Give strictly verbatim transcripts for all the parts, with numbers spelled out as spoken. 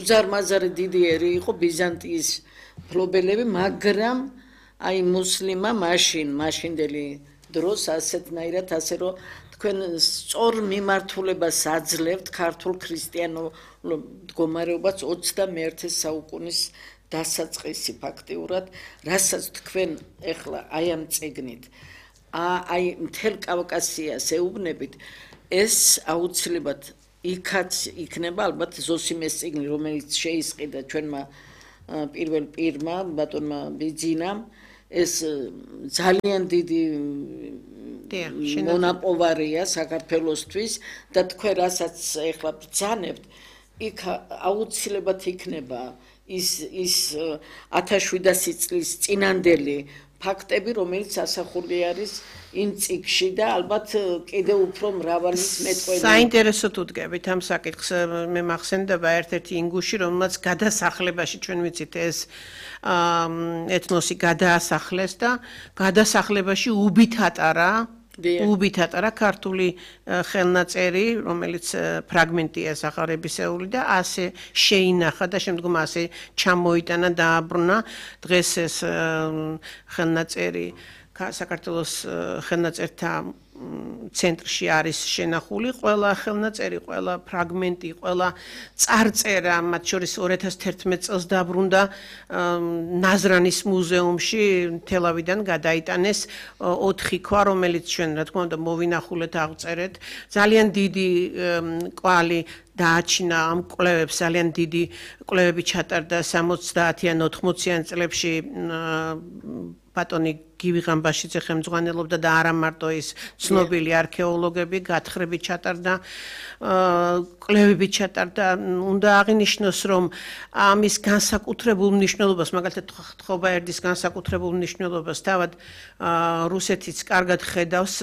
უზარმაზარი დიდი ერი იყო ბიზანტიის მფლობელები, მაგრამ აი მუსლიმმა მაშინ, მაშინდელი დროს ასეთნაირად ასე რომ თქვენ სწორ მიმართულებას აძლევთ ქართულ ქრისტიანულ მდგომარეობას ოცდამეერთე საუკუნის დასაწყისი ფაქტიურად, რასაც თქვენ ეხლა აი ამ წიგნით აი მთელ კავკასიას ეუბნებით, ეს აუცილებლად იქაც იქნება ალბათ ზოსიმეს წიგნი, რომელიც შეისყიდა ჩვენმა პირველ პირმა, ბატონმა ბიძინამ, ეს ძალიან დიდი მონაპოვარია საქართველოსთვის და თქვენ რასაც ეხლა ბრძანებთ, იქ აუცილებლად იქნება ის ის ათას წლის წინანდელი ფაქტები, რომელიც ასახული არის იმ წიგნში და ალბათ კიდევ უფრო მრავალი მეტყველი. საინტერესოდ უდგებით ამ საკითხს, მე მახსენდება ერთ-ერთი ინგუში, რომელმაც გადასახლებაში ჩვენ ვიცით ეს ეთნოსი გადაასახლეს და გადასახლებაში უბით ატარა უბით ატარა ქართული ხელნაწერი, რომელიც ფრაგმენტია სახარებისეული და ასე შეინახა და შემდგომ ასე ჩამოიტანა, დააბრუნა. დღეს ეს ხელნაწერი საქართველოს ხელნაწერთა ცენტრში არის შენახული, ყველა ხელნაწერი, ყველა ფრაგმენტი, ყველა წარწერა, მათ შორის ორი ათას თერთმეტ წელს დაბრუნდა ნაზრანის მუზეუმში, თელავიდან გადაიტანეს ოთხი ქვა, რომელიც ჩვენ, რა თქმა უნდა, მოვინახულეთ, აღწერეთ. ძალიან დიდი კვალი დააჩინა ამ კვლევებს, ძალიან დიდი კვლევები ჩატარდა სამოცდაათიან ოთხმოციან წლებში ბატონი გივი ღამბაშიძე ხელმძღვანელობდა და არა მარტო ის ცნობილი არქეოლოგები გათხრები ჩატარდა, კვლევები ჩატარდა. უნდა აღინიშნოს, რომ ამის განსაკუთრებულ მნიშვნელობას, მაგალითად ხობაერდის განსაკუთრებულ მნიშვნელობას თავად რუსეთიც კარგად ხედავს,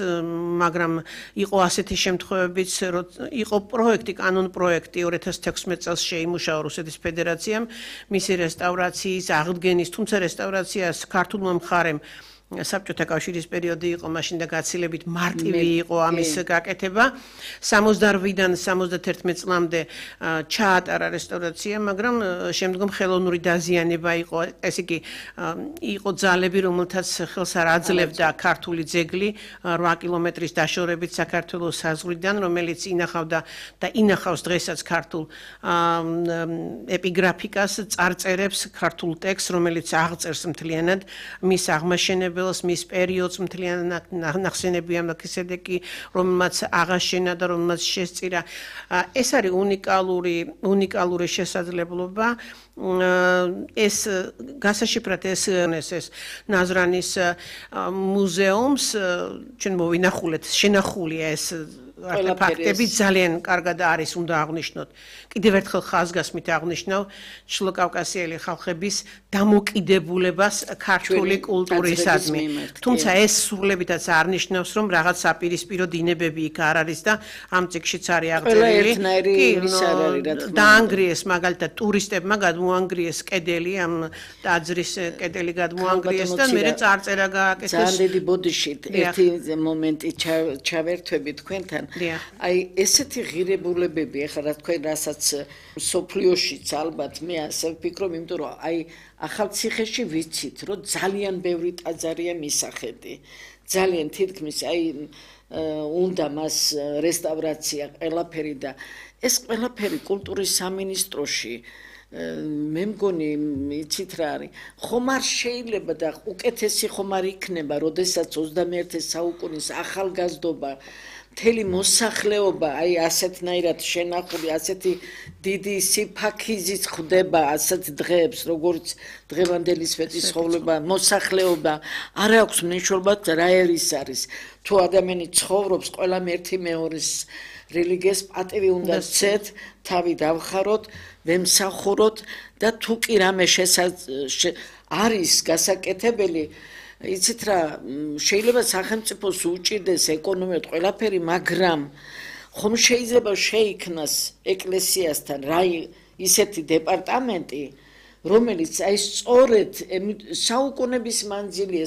მაგრამ იყო ასეთი შემთხვევებიც, რომ იყო პროექტი, კანონ პროექტი ორი ათას თექვსმეტ წელს შეიმუშავა რუსეთის ფედერაციამ მისი რესტავრაციის აღდგენის, თუმცა რესტავრაციას ქართულმა მხარემ საბჭოთა კავშირის პერიოდი იყო, მაშინ და გაცილებით მარტივი იყო ამის გაკეთება. სამოცდაორი-დან სამოცდათერთმეტ წლამდე ჩაატარა რესტავრაცია, მაგრამ შემდგომ ხელოვნური დაზიანება იყო, ესე იგი იყო ძალები, რომელთაც ხელს არ აძლევდა ქართული ძეგლი რვა კილომეტრის დაშორებით საქართველოს საზღვრიდან, რომელიც ინახავდა და ინახავს დღესაც ქართულ ეპიგრაფიკას, წარწერებს, ქართულ ტექსტს, რომელიც აღწერს მთლიანად მის აღმაშენებელს, მის პერიოდს, მთლიანად ნახსენებია მელქისედეკი, რომელმაც აღაშენა და რომელმაც შესწირა. ეს არის უნიკალური, უნიკალური შესაძლებლობა. ეს გასაშიფრად ეს ეს ნაზრანის მუზეუმს ჩვენ მოვინახულეთ, შენახულია ეს ფაქტები ძალიან კარგად არის, უნდა აღნიშნოთ. კიდევ ერთხელ ხაზგასმით აღნიშნავ ჩრდილოკავკასიელი ხალხების დამოკიდებულებას ქართული კულტურისადმი. თუმცა ეს სრულებითაც არ ნიშნავს, რომ რაღაც საპირისპირო დინებები იქ არ არის და ამ წიგნშიც არის აღწერილი. დაანგრიეს მაგალითად ტურისტებმა გადმოანგრიეს კედელი, ამ ტაძრის კედელი გადმოანგრიეს და მერე წარწერა გააკეთეს. ძალიან დიდი ბოდიშით ერთი მომენტი ჩავერთვები თქვენთან. აი ესეთი ღირებულებები, ახლა რა თქვენ რასაც სოფლიოშიც ალბათ მე ასე ვფიქრობ, იმიტომ რომ აი ახალციხეში ვიცით, რომ ძალიან ბევრი ტაძარია მისახედი. ძალიან თითქმის აი უნდა მას რესტავრაცია ყველაფერი და ეს ყველაფერი კულტურის სამინისტროში მე მგონი იცით რა არის, ხომ არ შეიძლება და უკეთესი ხომ არ იქნება, როდესაც ოცდამეერთე საუკუნის ახალგაზრდობა მთელი მოსახლეობა აი ასეთნაირად შენახული, ასეთი დიდი სიფაქიზით ხდება ასეთ დღეებს, როგორც დღევანდელი სვეტიცხოვლება, მოსახლეობა არ აქვს მნიშვნელობა რა ერის არის. თუ ადამიანი ცხოვრობს, ყველამ ერთი მეორის რელიგიას პატივი უნდა სცეთ, თავი დავხაროთ, ვემსახუროთ და თუ კი რამე არის გასაკეთებელი, იცით რა, შეიძლება სახელმწიფოს უჭირდეს ეკონომიურად ყველაფერი, მაგრამ ხომ შეიძლება შეიქმნას ეკლესიასთან რა ისეთი დეპარტამენტი, რომელიც აი სწორედ საუკუნების მანძილი ეს